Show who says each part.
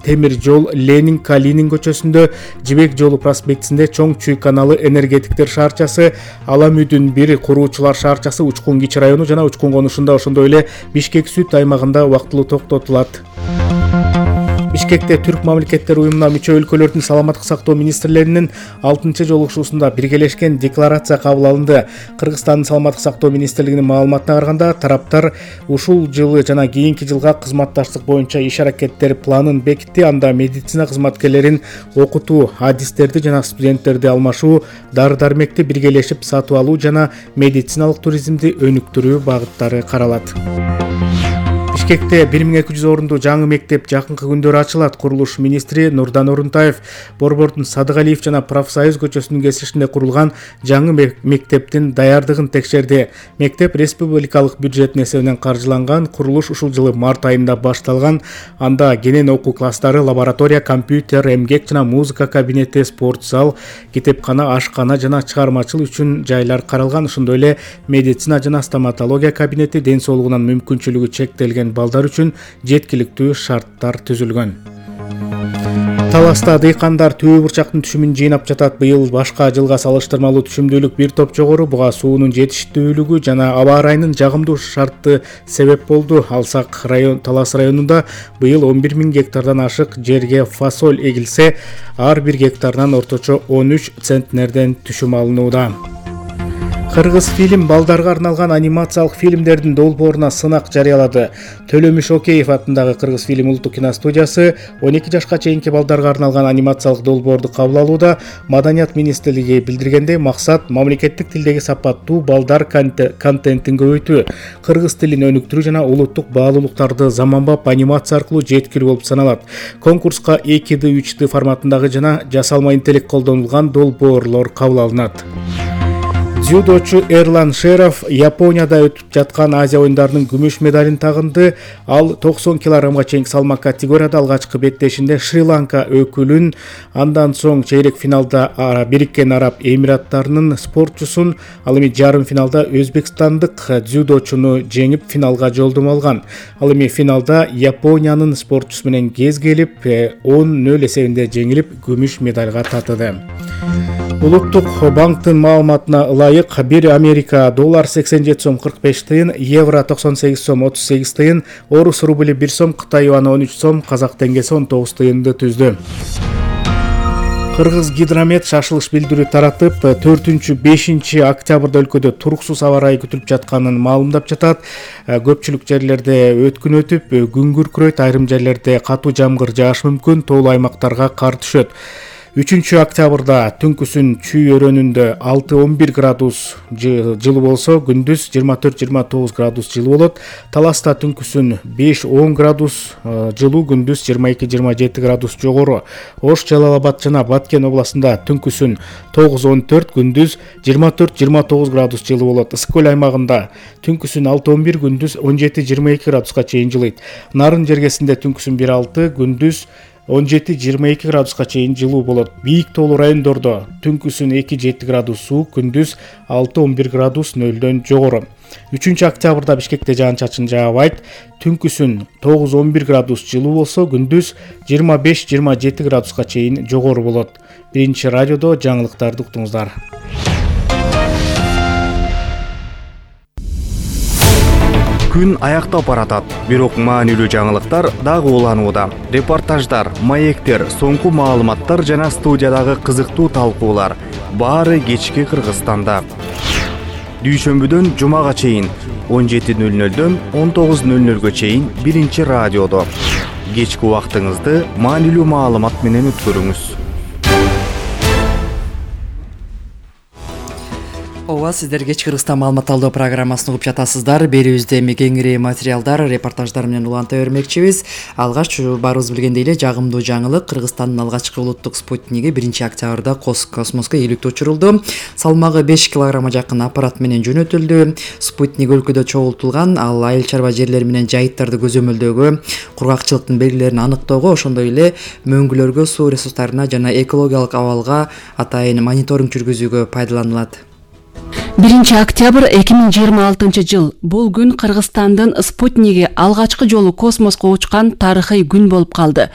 Speaker 1: темир жол Ленин Калинин көчөсүндө, Жибек жолу проспектисинде Чоң Чүй каналы энергетиктер шаарчасы, Алам үйдүн 1 куруучулар шаарчасы Учкун Кичи району жана Учкун конушунда, ошондой эле Бишкек Сүт аймагында убактылуу токтотулат. Бишкекте Түрк мамлекеттер уюмуна мүчө өлкөлөрдүн саламаттык сактоо министрлеринин 6-жолугушуусунда биргелешкен декларация кабыл алынды. Кыргызстандын саламаттык сактоо министрлигинин маалыматына караганда, тараптар ушул жылы жана кийинки жылга кызматташтык боюнча иш-аракеттер планын бекитти. Анда медицина кызматкерлерин окутуу, адистерди жана студенттерди алмашуу, дары-дармекти биргелешип сатып алуу жана медициналык туризмди өнүктүрүү багыттары каралат. Бишкекте 1200 орундуу жаңы мектеп жакынкы күндөрү ачылат. Курулуш министри Нурдан Орунтаев Борбордун Садыгалиев жана Профсоюз көчөсүнүн кесишинде курулган жаңы мектептин даярдыгын текшерди. Мектеп республикалык бюджеттин эсебинен каржыланган. Курулуш ушул жылы март айында башталган. Анда кенен окуу класстары, лаборатория, компьютер, эмгек жана музыка кабинети, спорт зал, китепкана, ашкана жана чыгармачылык үчүн жайлар каралган. Ошондой эле медицина жана стоматология кабинети, ден соолугунан мүмкүнчүлүгү чектелген балдар үчүн жеткиликтүү шарттар түзүлгөн. Таласта дыйкандар түбө бурчактын түшүмүн жыйнап жатат. Быйыл башка жылга салыштырмалуу түшүмдүүлүк бир топ жогору, буга суунун жетиштүүлүгү жана аба ырайынын жагымдуу шарты себеп болду. Алсак Талас районунда быйыл 11 000 гектардан ашык жерге фасоль эгилсе, ар бир гектарынан орточо 13 центнерден түшүм алынууда. Кыргыз фильм балдарга арналган анимациялык фильмдердин долбооруна сынак жарыялады. Төлөмүш Океев атындагы Кыргыз фильм улуттук киностудиясы 12 жашка чейинки балдарга арналган анимациялык долбоорду кабыл алууда. Маданият министрлиги билдиргендей, максат мамлекеттик тилдеги сапаттуу балдар контентин көбөйтүү, кыргыз тилин өнүктүрүү жана улуттук баалуулуктарды заманбап анимация аркылуу жеткирүү болуп саналат. Конкурска 2D, 3D форматындагы жана жасалма интеллект колдонулган долбоорлор кабыл алынат. Дзюдочу Эрлан Шеров Японияда өтүп жаткан Азия оюндарынын күмүш медалин тагынды. Ал 90 кг чейинки салмак категорияда алгачкы беттешинде Шри-Ланка өкүлүн, андан соң чейрек финалда Бириккен Араб Эмираттарынын спортчусун, ал эми жарым финалда өзбекстандык дзюдочуну жеңип финалга жолдомо алган. Ал эми финалда Япониянын спортчусу менен кез келип 10-0 эсебинде жеңилип күмүш медальга татыды. Улуттук банктын маалыматына ылайык, 1 Америка доллар 87 сом 45 тыйын, евро 98 сом 38 тыйын, орус рубли 1 сом, Кытай юаны 13 сом, казак теңгеси 19 тыйынды түздү. Кыргыз гидромет шашылыш билдирүү таратып, 4-5 октябрда өлкөдө туруксуз аба ырайы күтүлүп жатканын маалымдап жатат. Көпчүлүк жерлерде өткүн өтүп, күн күркүрөйт, айрым жерлерде катуу жамгыр жаашы мүмкүн, тоолуу аймактарга кар түшөт. 3 октябрда түнкүсүн Чүй өрөөнүндө 6-11 градус жылуу болсо, күндүз 24-29 градус жылуу болот. Таласта түнкүсүн 5-10 градус жылуу, күндүз 22-27 градус жогору. Ош, Жалал Абад жана Баткен областында түнкүсүн 9-14, күндүз 24-29 градус жылуу болот. Ысык көл аймагында түнкүсүн 6-11, күндүз 17-22 градуска чейин жылыйт. Нарын жергесинде түнкүсүн 1-6, күндүз 17-22 градуска чейин жылуу болот. Бийик тоолуу райондордо түнкүсүн 2-7 градус суук, күндүз 6-11 градус нөлдөн жогору. 3 октябрда Бишкекте жаан-чачын жаабайт. Түнкүсүн 9-11 градус жылуу болсо, күндүз 25-27 градуска чейин жогору болот. Биринчи радиодо жаңылыктарды уктуңуздар.
Speaker 2: Күн аяктап баратат, бирок маанилүү жаңылыктар дагы уланууда. Репортаждар, маектер, соңку маалыматтар жана студиядагы кызыктуу талкуулар баары кечки Кыргызстанда. Дүйшөмбүдөн жумага чейин 17:00дөн 19:00 чейин биринчи радиодо. Кечки убактыңызды маанилүү маалымат менен өткөрүңүз.
Speaker 3: Ооба, сиздер кечки Кыргызстан маалымат алуу программасын угуп жатасыздар. Берүүбүздө эми кеңири материалдар, репортаждар менен уланта бермекчибиз. Алгач баарыбыз билгендей эле жагымдуу жаңылык: Кыргызстандын алгачкы улуттук спутниги 1 октябрда космоско ийгиликте учурулду. Салмагы 5 килограммга жакын аппарат менен жөнөтүлдү. Спутник өлкөдө чогултулган, ал айыл чарба жерлери менен жайыттарды көзөмөлдөөгө, кургакчылыктын белгилерин аныктоого, ошондой эле мөңгүлөргө, суу ресурстарына жана экологиялык абалга атайын мониторинг жүргүзүүгө пайдаланылат.
Speaker 4: 1 октябрь 2026 жыл. Бул күн Кыргызстандын спутниги алгачкы жолу космоско учкан тарыхый күн болуп калды.